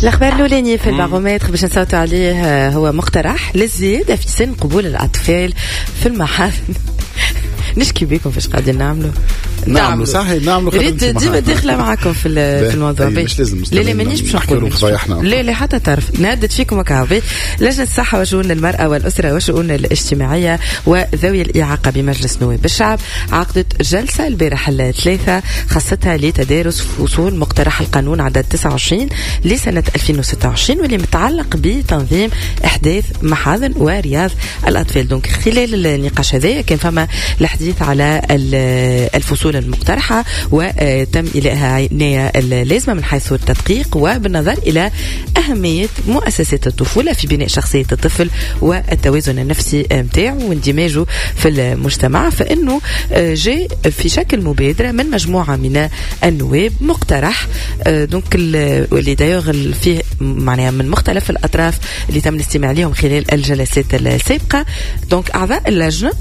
الاخبار الاولاني في البارومتر باش نصوتوا عليه هو مقترح للزياده في سن قبول الاطفال في المحاضن. نشكي بكم فاش قاعدين نعملوا. نعملوا صحيح، نعملوا. ريت ديما داخله معاكم في الموضوع. مش لازم. لا لا، مانيش باش نقول، لا لا، حتى طرف نهدد فيكم هكا. لجنة الصحة وشؤون المراة والاسرة والشؤون الاجتماعية وذوي الاعاقة بمجلس نواب الشعب عقدت جلسه البارح الثلاثة خاصتها لتدارس فصول مقترح القانون عدد 29 لسنه 2026، واللي متعلق بتنظيم احداث محاضن ورياض الاطفال. donc خلال النقاش هذا كان فما الحديث على الفصول المقترحة، وتم إيلائها عناية اللازمة من حيث التدقيق وبالنظر إلى أهمية مؤسسات الطفولة في بناء شخصية الطفل والتوازن النفسي متاعه واندماجه في المجتمع. فإنه جاء في شكل مبادرة من مجموعة من النواب مقترح، donc واللي d'ailleurs فيه معناها من مختلف الأطراف اللي تم الاستماع لهم خلال الجلسات السابقة. donc أعضاء اللجنة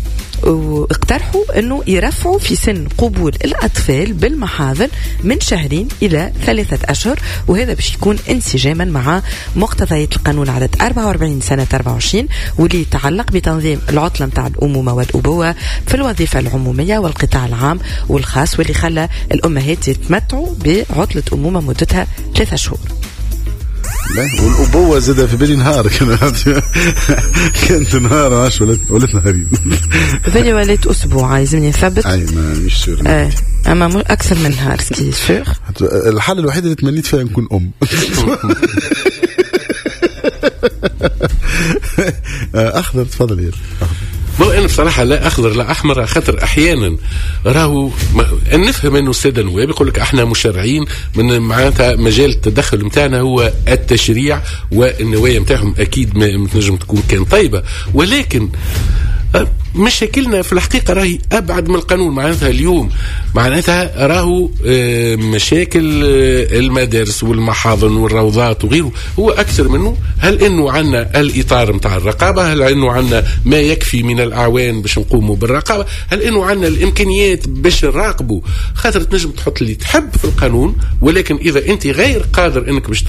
واقترحوا انه يرفعوا في سن قبول الاطفال بالمحاضن من شهرين الى 3 اشهر، وهذا باش يكون انسجاما مع مقتضيات القانون عدد 44 سنة 24، واللي يتعلق بتنظيم العطلة نتاع الامومة والابوه في الوظيفة العمومية والقطاع العام والخاص، واللي خلى الامهات يتمتعوا بعطله امومه مدتها 3 شهور. والابوه زاد في بالي نهار، كانت نهار، عاش ولات نهارين. في بالي ولات اسبوع، لازمني نثبت. اي ما مش sûr. ايه، اما اكثر من نهار ce qui est sûr. الحالة الوحيدة اللي تمنيت فيها نكون ام. اخضر، تفضل يا اخضر. انا بصراحة لا اخضر لا احمر، خاطر احيانا راهو نفهم انه السادة النواب يقول لك احنا مشرعين، من معناتها مجال التدخل نتاعنا هو التشريع، والنوايا نتاعهم اكيد ما تنجم تكون كان طيبه، ولكن مشاكلنا في الحقيقة راهي ابعد من القانون. معناتها اليوم معناتها راهو مشاكل المدارس والمحاضن والروضات وغيره هو اكثر منه. هل انه عندنا الاطار نتاع الرقابه؟ هل انه عندنا ما يكفي من الاعوان باش نقوموا بالرقابه؟ هل انه عندنا الامكانيات باش نراقبوا؟ خاطر تنجم تحط اللي تحب في القانون، ولكن اذا انت غير قادر انك باش